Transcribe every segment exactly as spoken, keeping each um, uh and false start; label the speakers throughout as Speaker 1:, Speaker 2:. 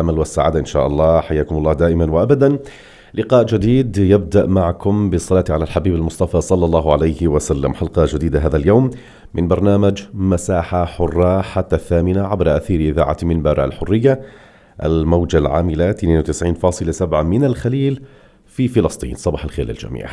Speaker 1: الأمل والسعادة إن شاء الله. حياكم الله دائما وأبدا. لقاء جديد يبدأ معكم بالصلاة على الحبيب المصطفى صلى الله عليه وسلم. حلقة جديدة هذا اليوم من برنامج مساحة حرة حتى الثامنة عبر أثير إذاعة منبر الحرية، الموجة العاملة اثنين وتسعين فاصلة سبعة من الخليل في فلسطين. صباح الخير للجميع.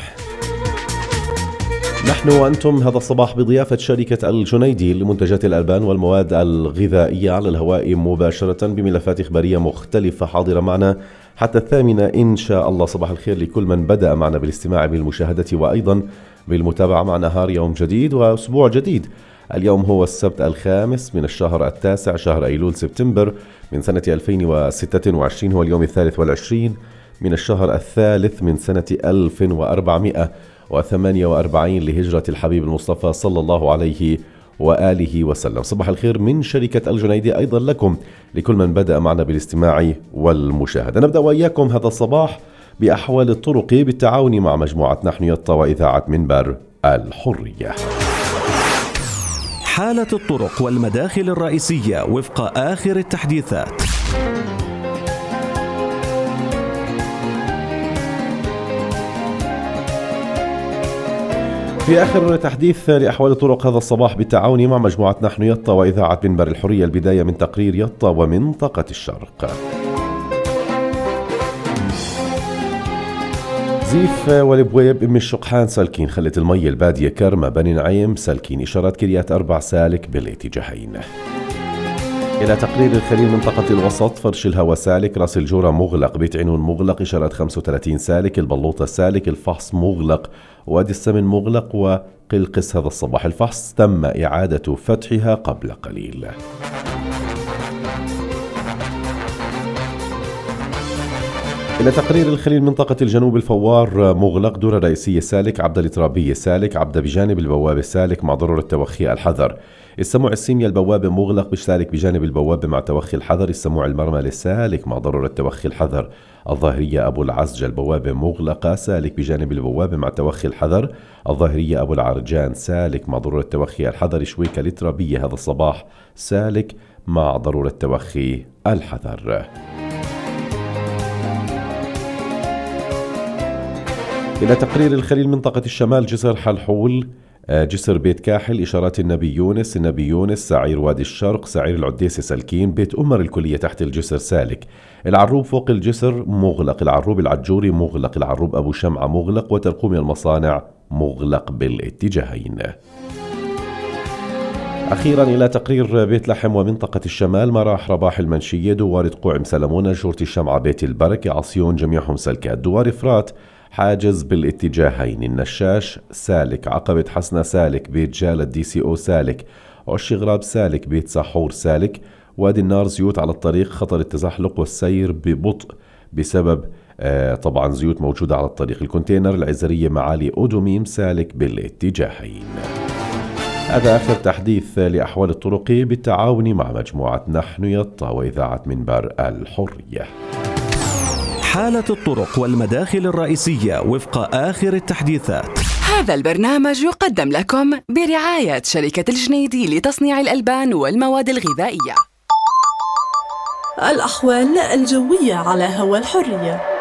Speaker 1: نحن وأنتم هذا الصباح بضيافة شركة الجنيدي لمنتجات الألبان والمواد الغذائية على الهواء مباشرة بملفات إخبارية مختلفة حاضرة معنا حتى الثامنة إن شاء الله. صباح الخير لكل من بدأ معنا بالاستماع بالمشاهدة وأيضا بالمتابعة مع نهار يوم جديد وأسبوع جديد. اليوم هو السبت الخامس من الشهر التاسع شهر أيلول سبتمبر من سنة ألفين وستة وعشرين، هو اليوم الثالث والعشرين من الشهر الثالث من سنة ألف وأربعمائة وثمانية وأربعين لهجرة الحبيب المصطفى صلى الله عليه وآله وسلم. صباح الخير من شركة الجنيدي أيضا لكم لكل من بدأ معنا بالاستماع والمشاهدة. نبدأ وإياكم هذا الصباح بأحوال الطرق بالتعاون مع مجموعة نحن يطا وإذاعة منبر الحرية.
Speaker 2: حالة الطرق والمداخل الرئيسية وفق آخر التحديثات.
Speaker 1: في آخر تحديث لأحوال الطرق هذا الصباح بالتعاون مع مجموعة نحن يطا وإذاعة منبر الحرية، البداية من تقرير يطا ومنطقة الشرق. زيف والبويب أم الشقحان سالكين، خلة المي البادية كرمة بني نعيم سالكين، إشارات كريات أربع سالك بالاتجاهين. إلى تقرير الخليل منطقة الوسط، فرش الهوى سالك، راس الجورة مغلق، بيت عنون مغلق، إشارات خمسة وثلاثين سالك، البلوطة سالك، الفحص مغلق، وادي السمن مغلق، وقلقس هذا الصباح الفحص تم إعادة فتحها قبل قليل. إلى تقرير الخليل منطقة الجنوب، الفوار مغلق، دورة رئيسية سالك، عبد الترابية سالك، عبد بجانب البوابة سالك مع ضرورة توخي الحذر. السموع السيميا البوابة مغلق بسالك بجانب البوابة مع توخي الحذر. السموع المرمى سالك مع ضرورة توخي الحذر. الظاهرية أبو العزج البوابة مغلقة سالك بجانب البوابة مع توخي الحذر. الظاهرية أبو العرجان سالك مع ضرورة توخي الحذر. شويكة الترابية هذا الصباح سالك مع ضرورة توخي الحذر. إلى تقرير الخليل منطقة الشمال، جسر حلحول، جسر بيت كاحل، إشارات النبي يونس، النبي يونس، سعير وادي الشرق، سعير العديسة سالكين، بيت أمر الكلية تحت الجسر سالك. العروب فوق الجسر مغلق، العروب العجوري مغلق، العروب أبو شمعة مغلق، وترقوم المصانع مغلق بالاتجاهين. أخيرا إلى تقرير بيت لحم ومنطقة الشمال، مراح رباح المنشية، دوار قوعم سلمونة، جورة الشمعة، بيت البركة، عصيون، جميعهم سلكات. دوار فرات حاجز بالاتجاهين. النشاش سالك، عقبة حسنة سالك، بيت جالة دي سي او سالك، عش غراب سالك، بيت ساحور سالك. وادي النار زيوت على الطريق، خطر التزحلق والسير ببطء بسبب آه طبعا زيوت موجودة على الطريق. الكونتينر العزرية معالي أودوميم سالك بالاتجاهين. هذا آخر تحديث لأحوال الطرق بالتعاون مع مجموعة نحن يطا وإذاعة منبر الحرية.
Speaker 2: حالة الطرق والمداخل الرئيسية وفق آخر التحديثات.
Speaker 3: هذا البرنامج يقدم لكم برعاية شركة الجنيدي لتصنيع الألبان والمواد الغذائية.
Speaker 4: الأحوال الجوية على هوا الحرية.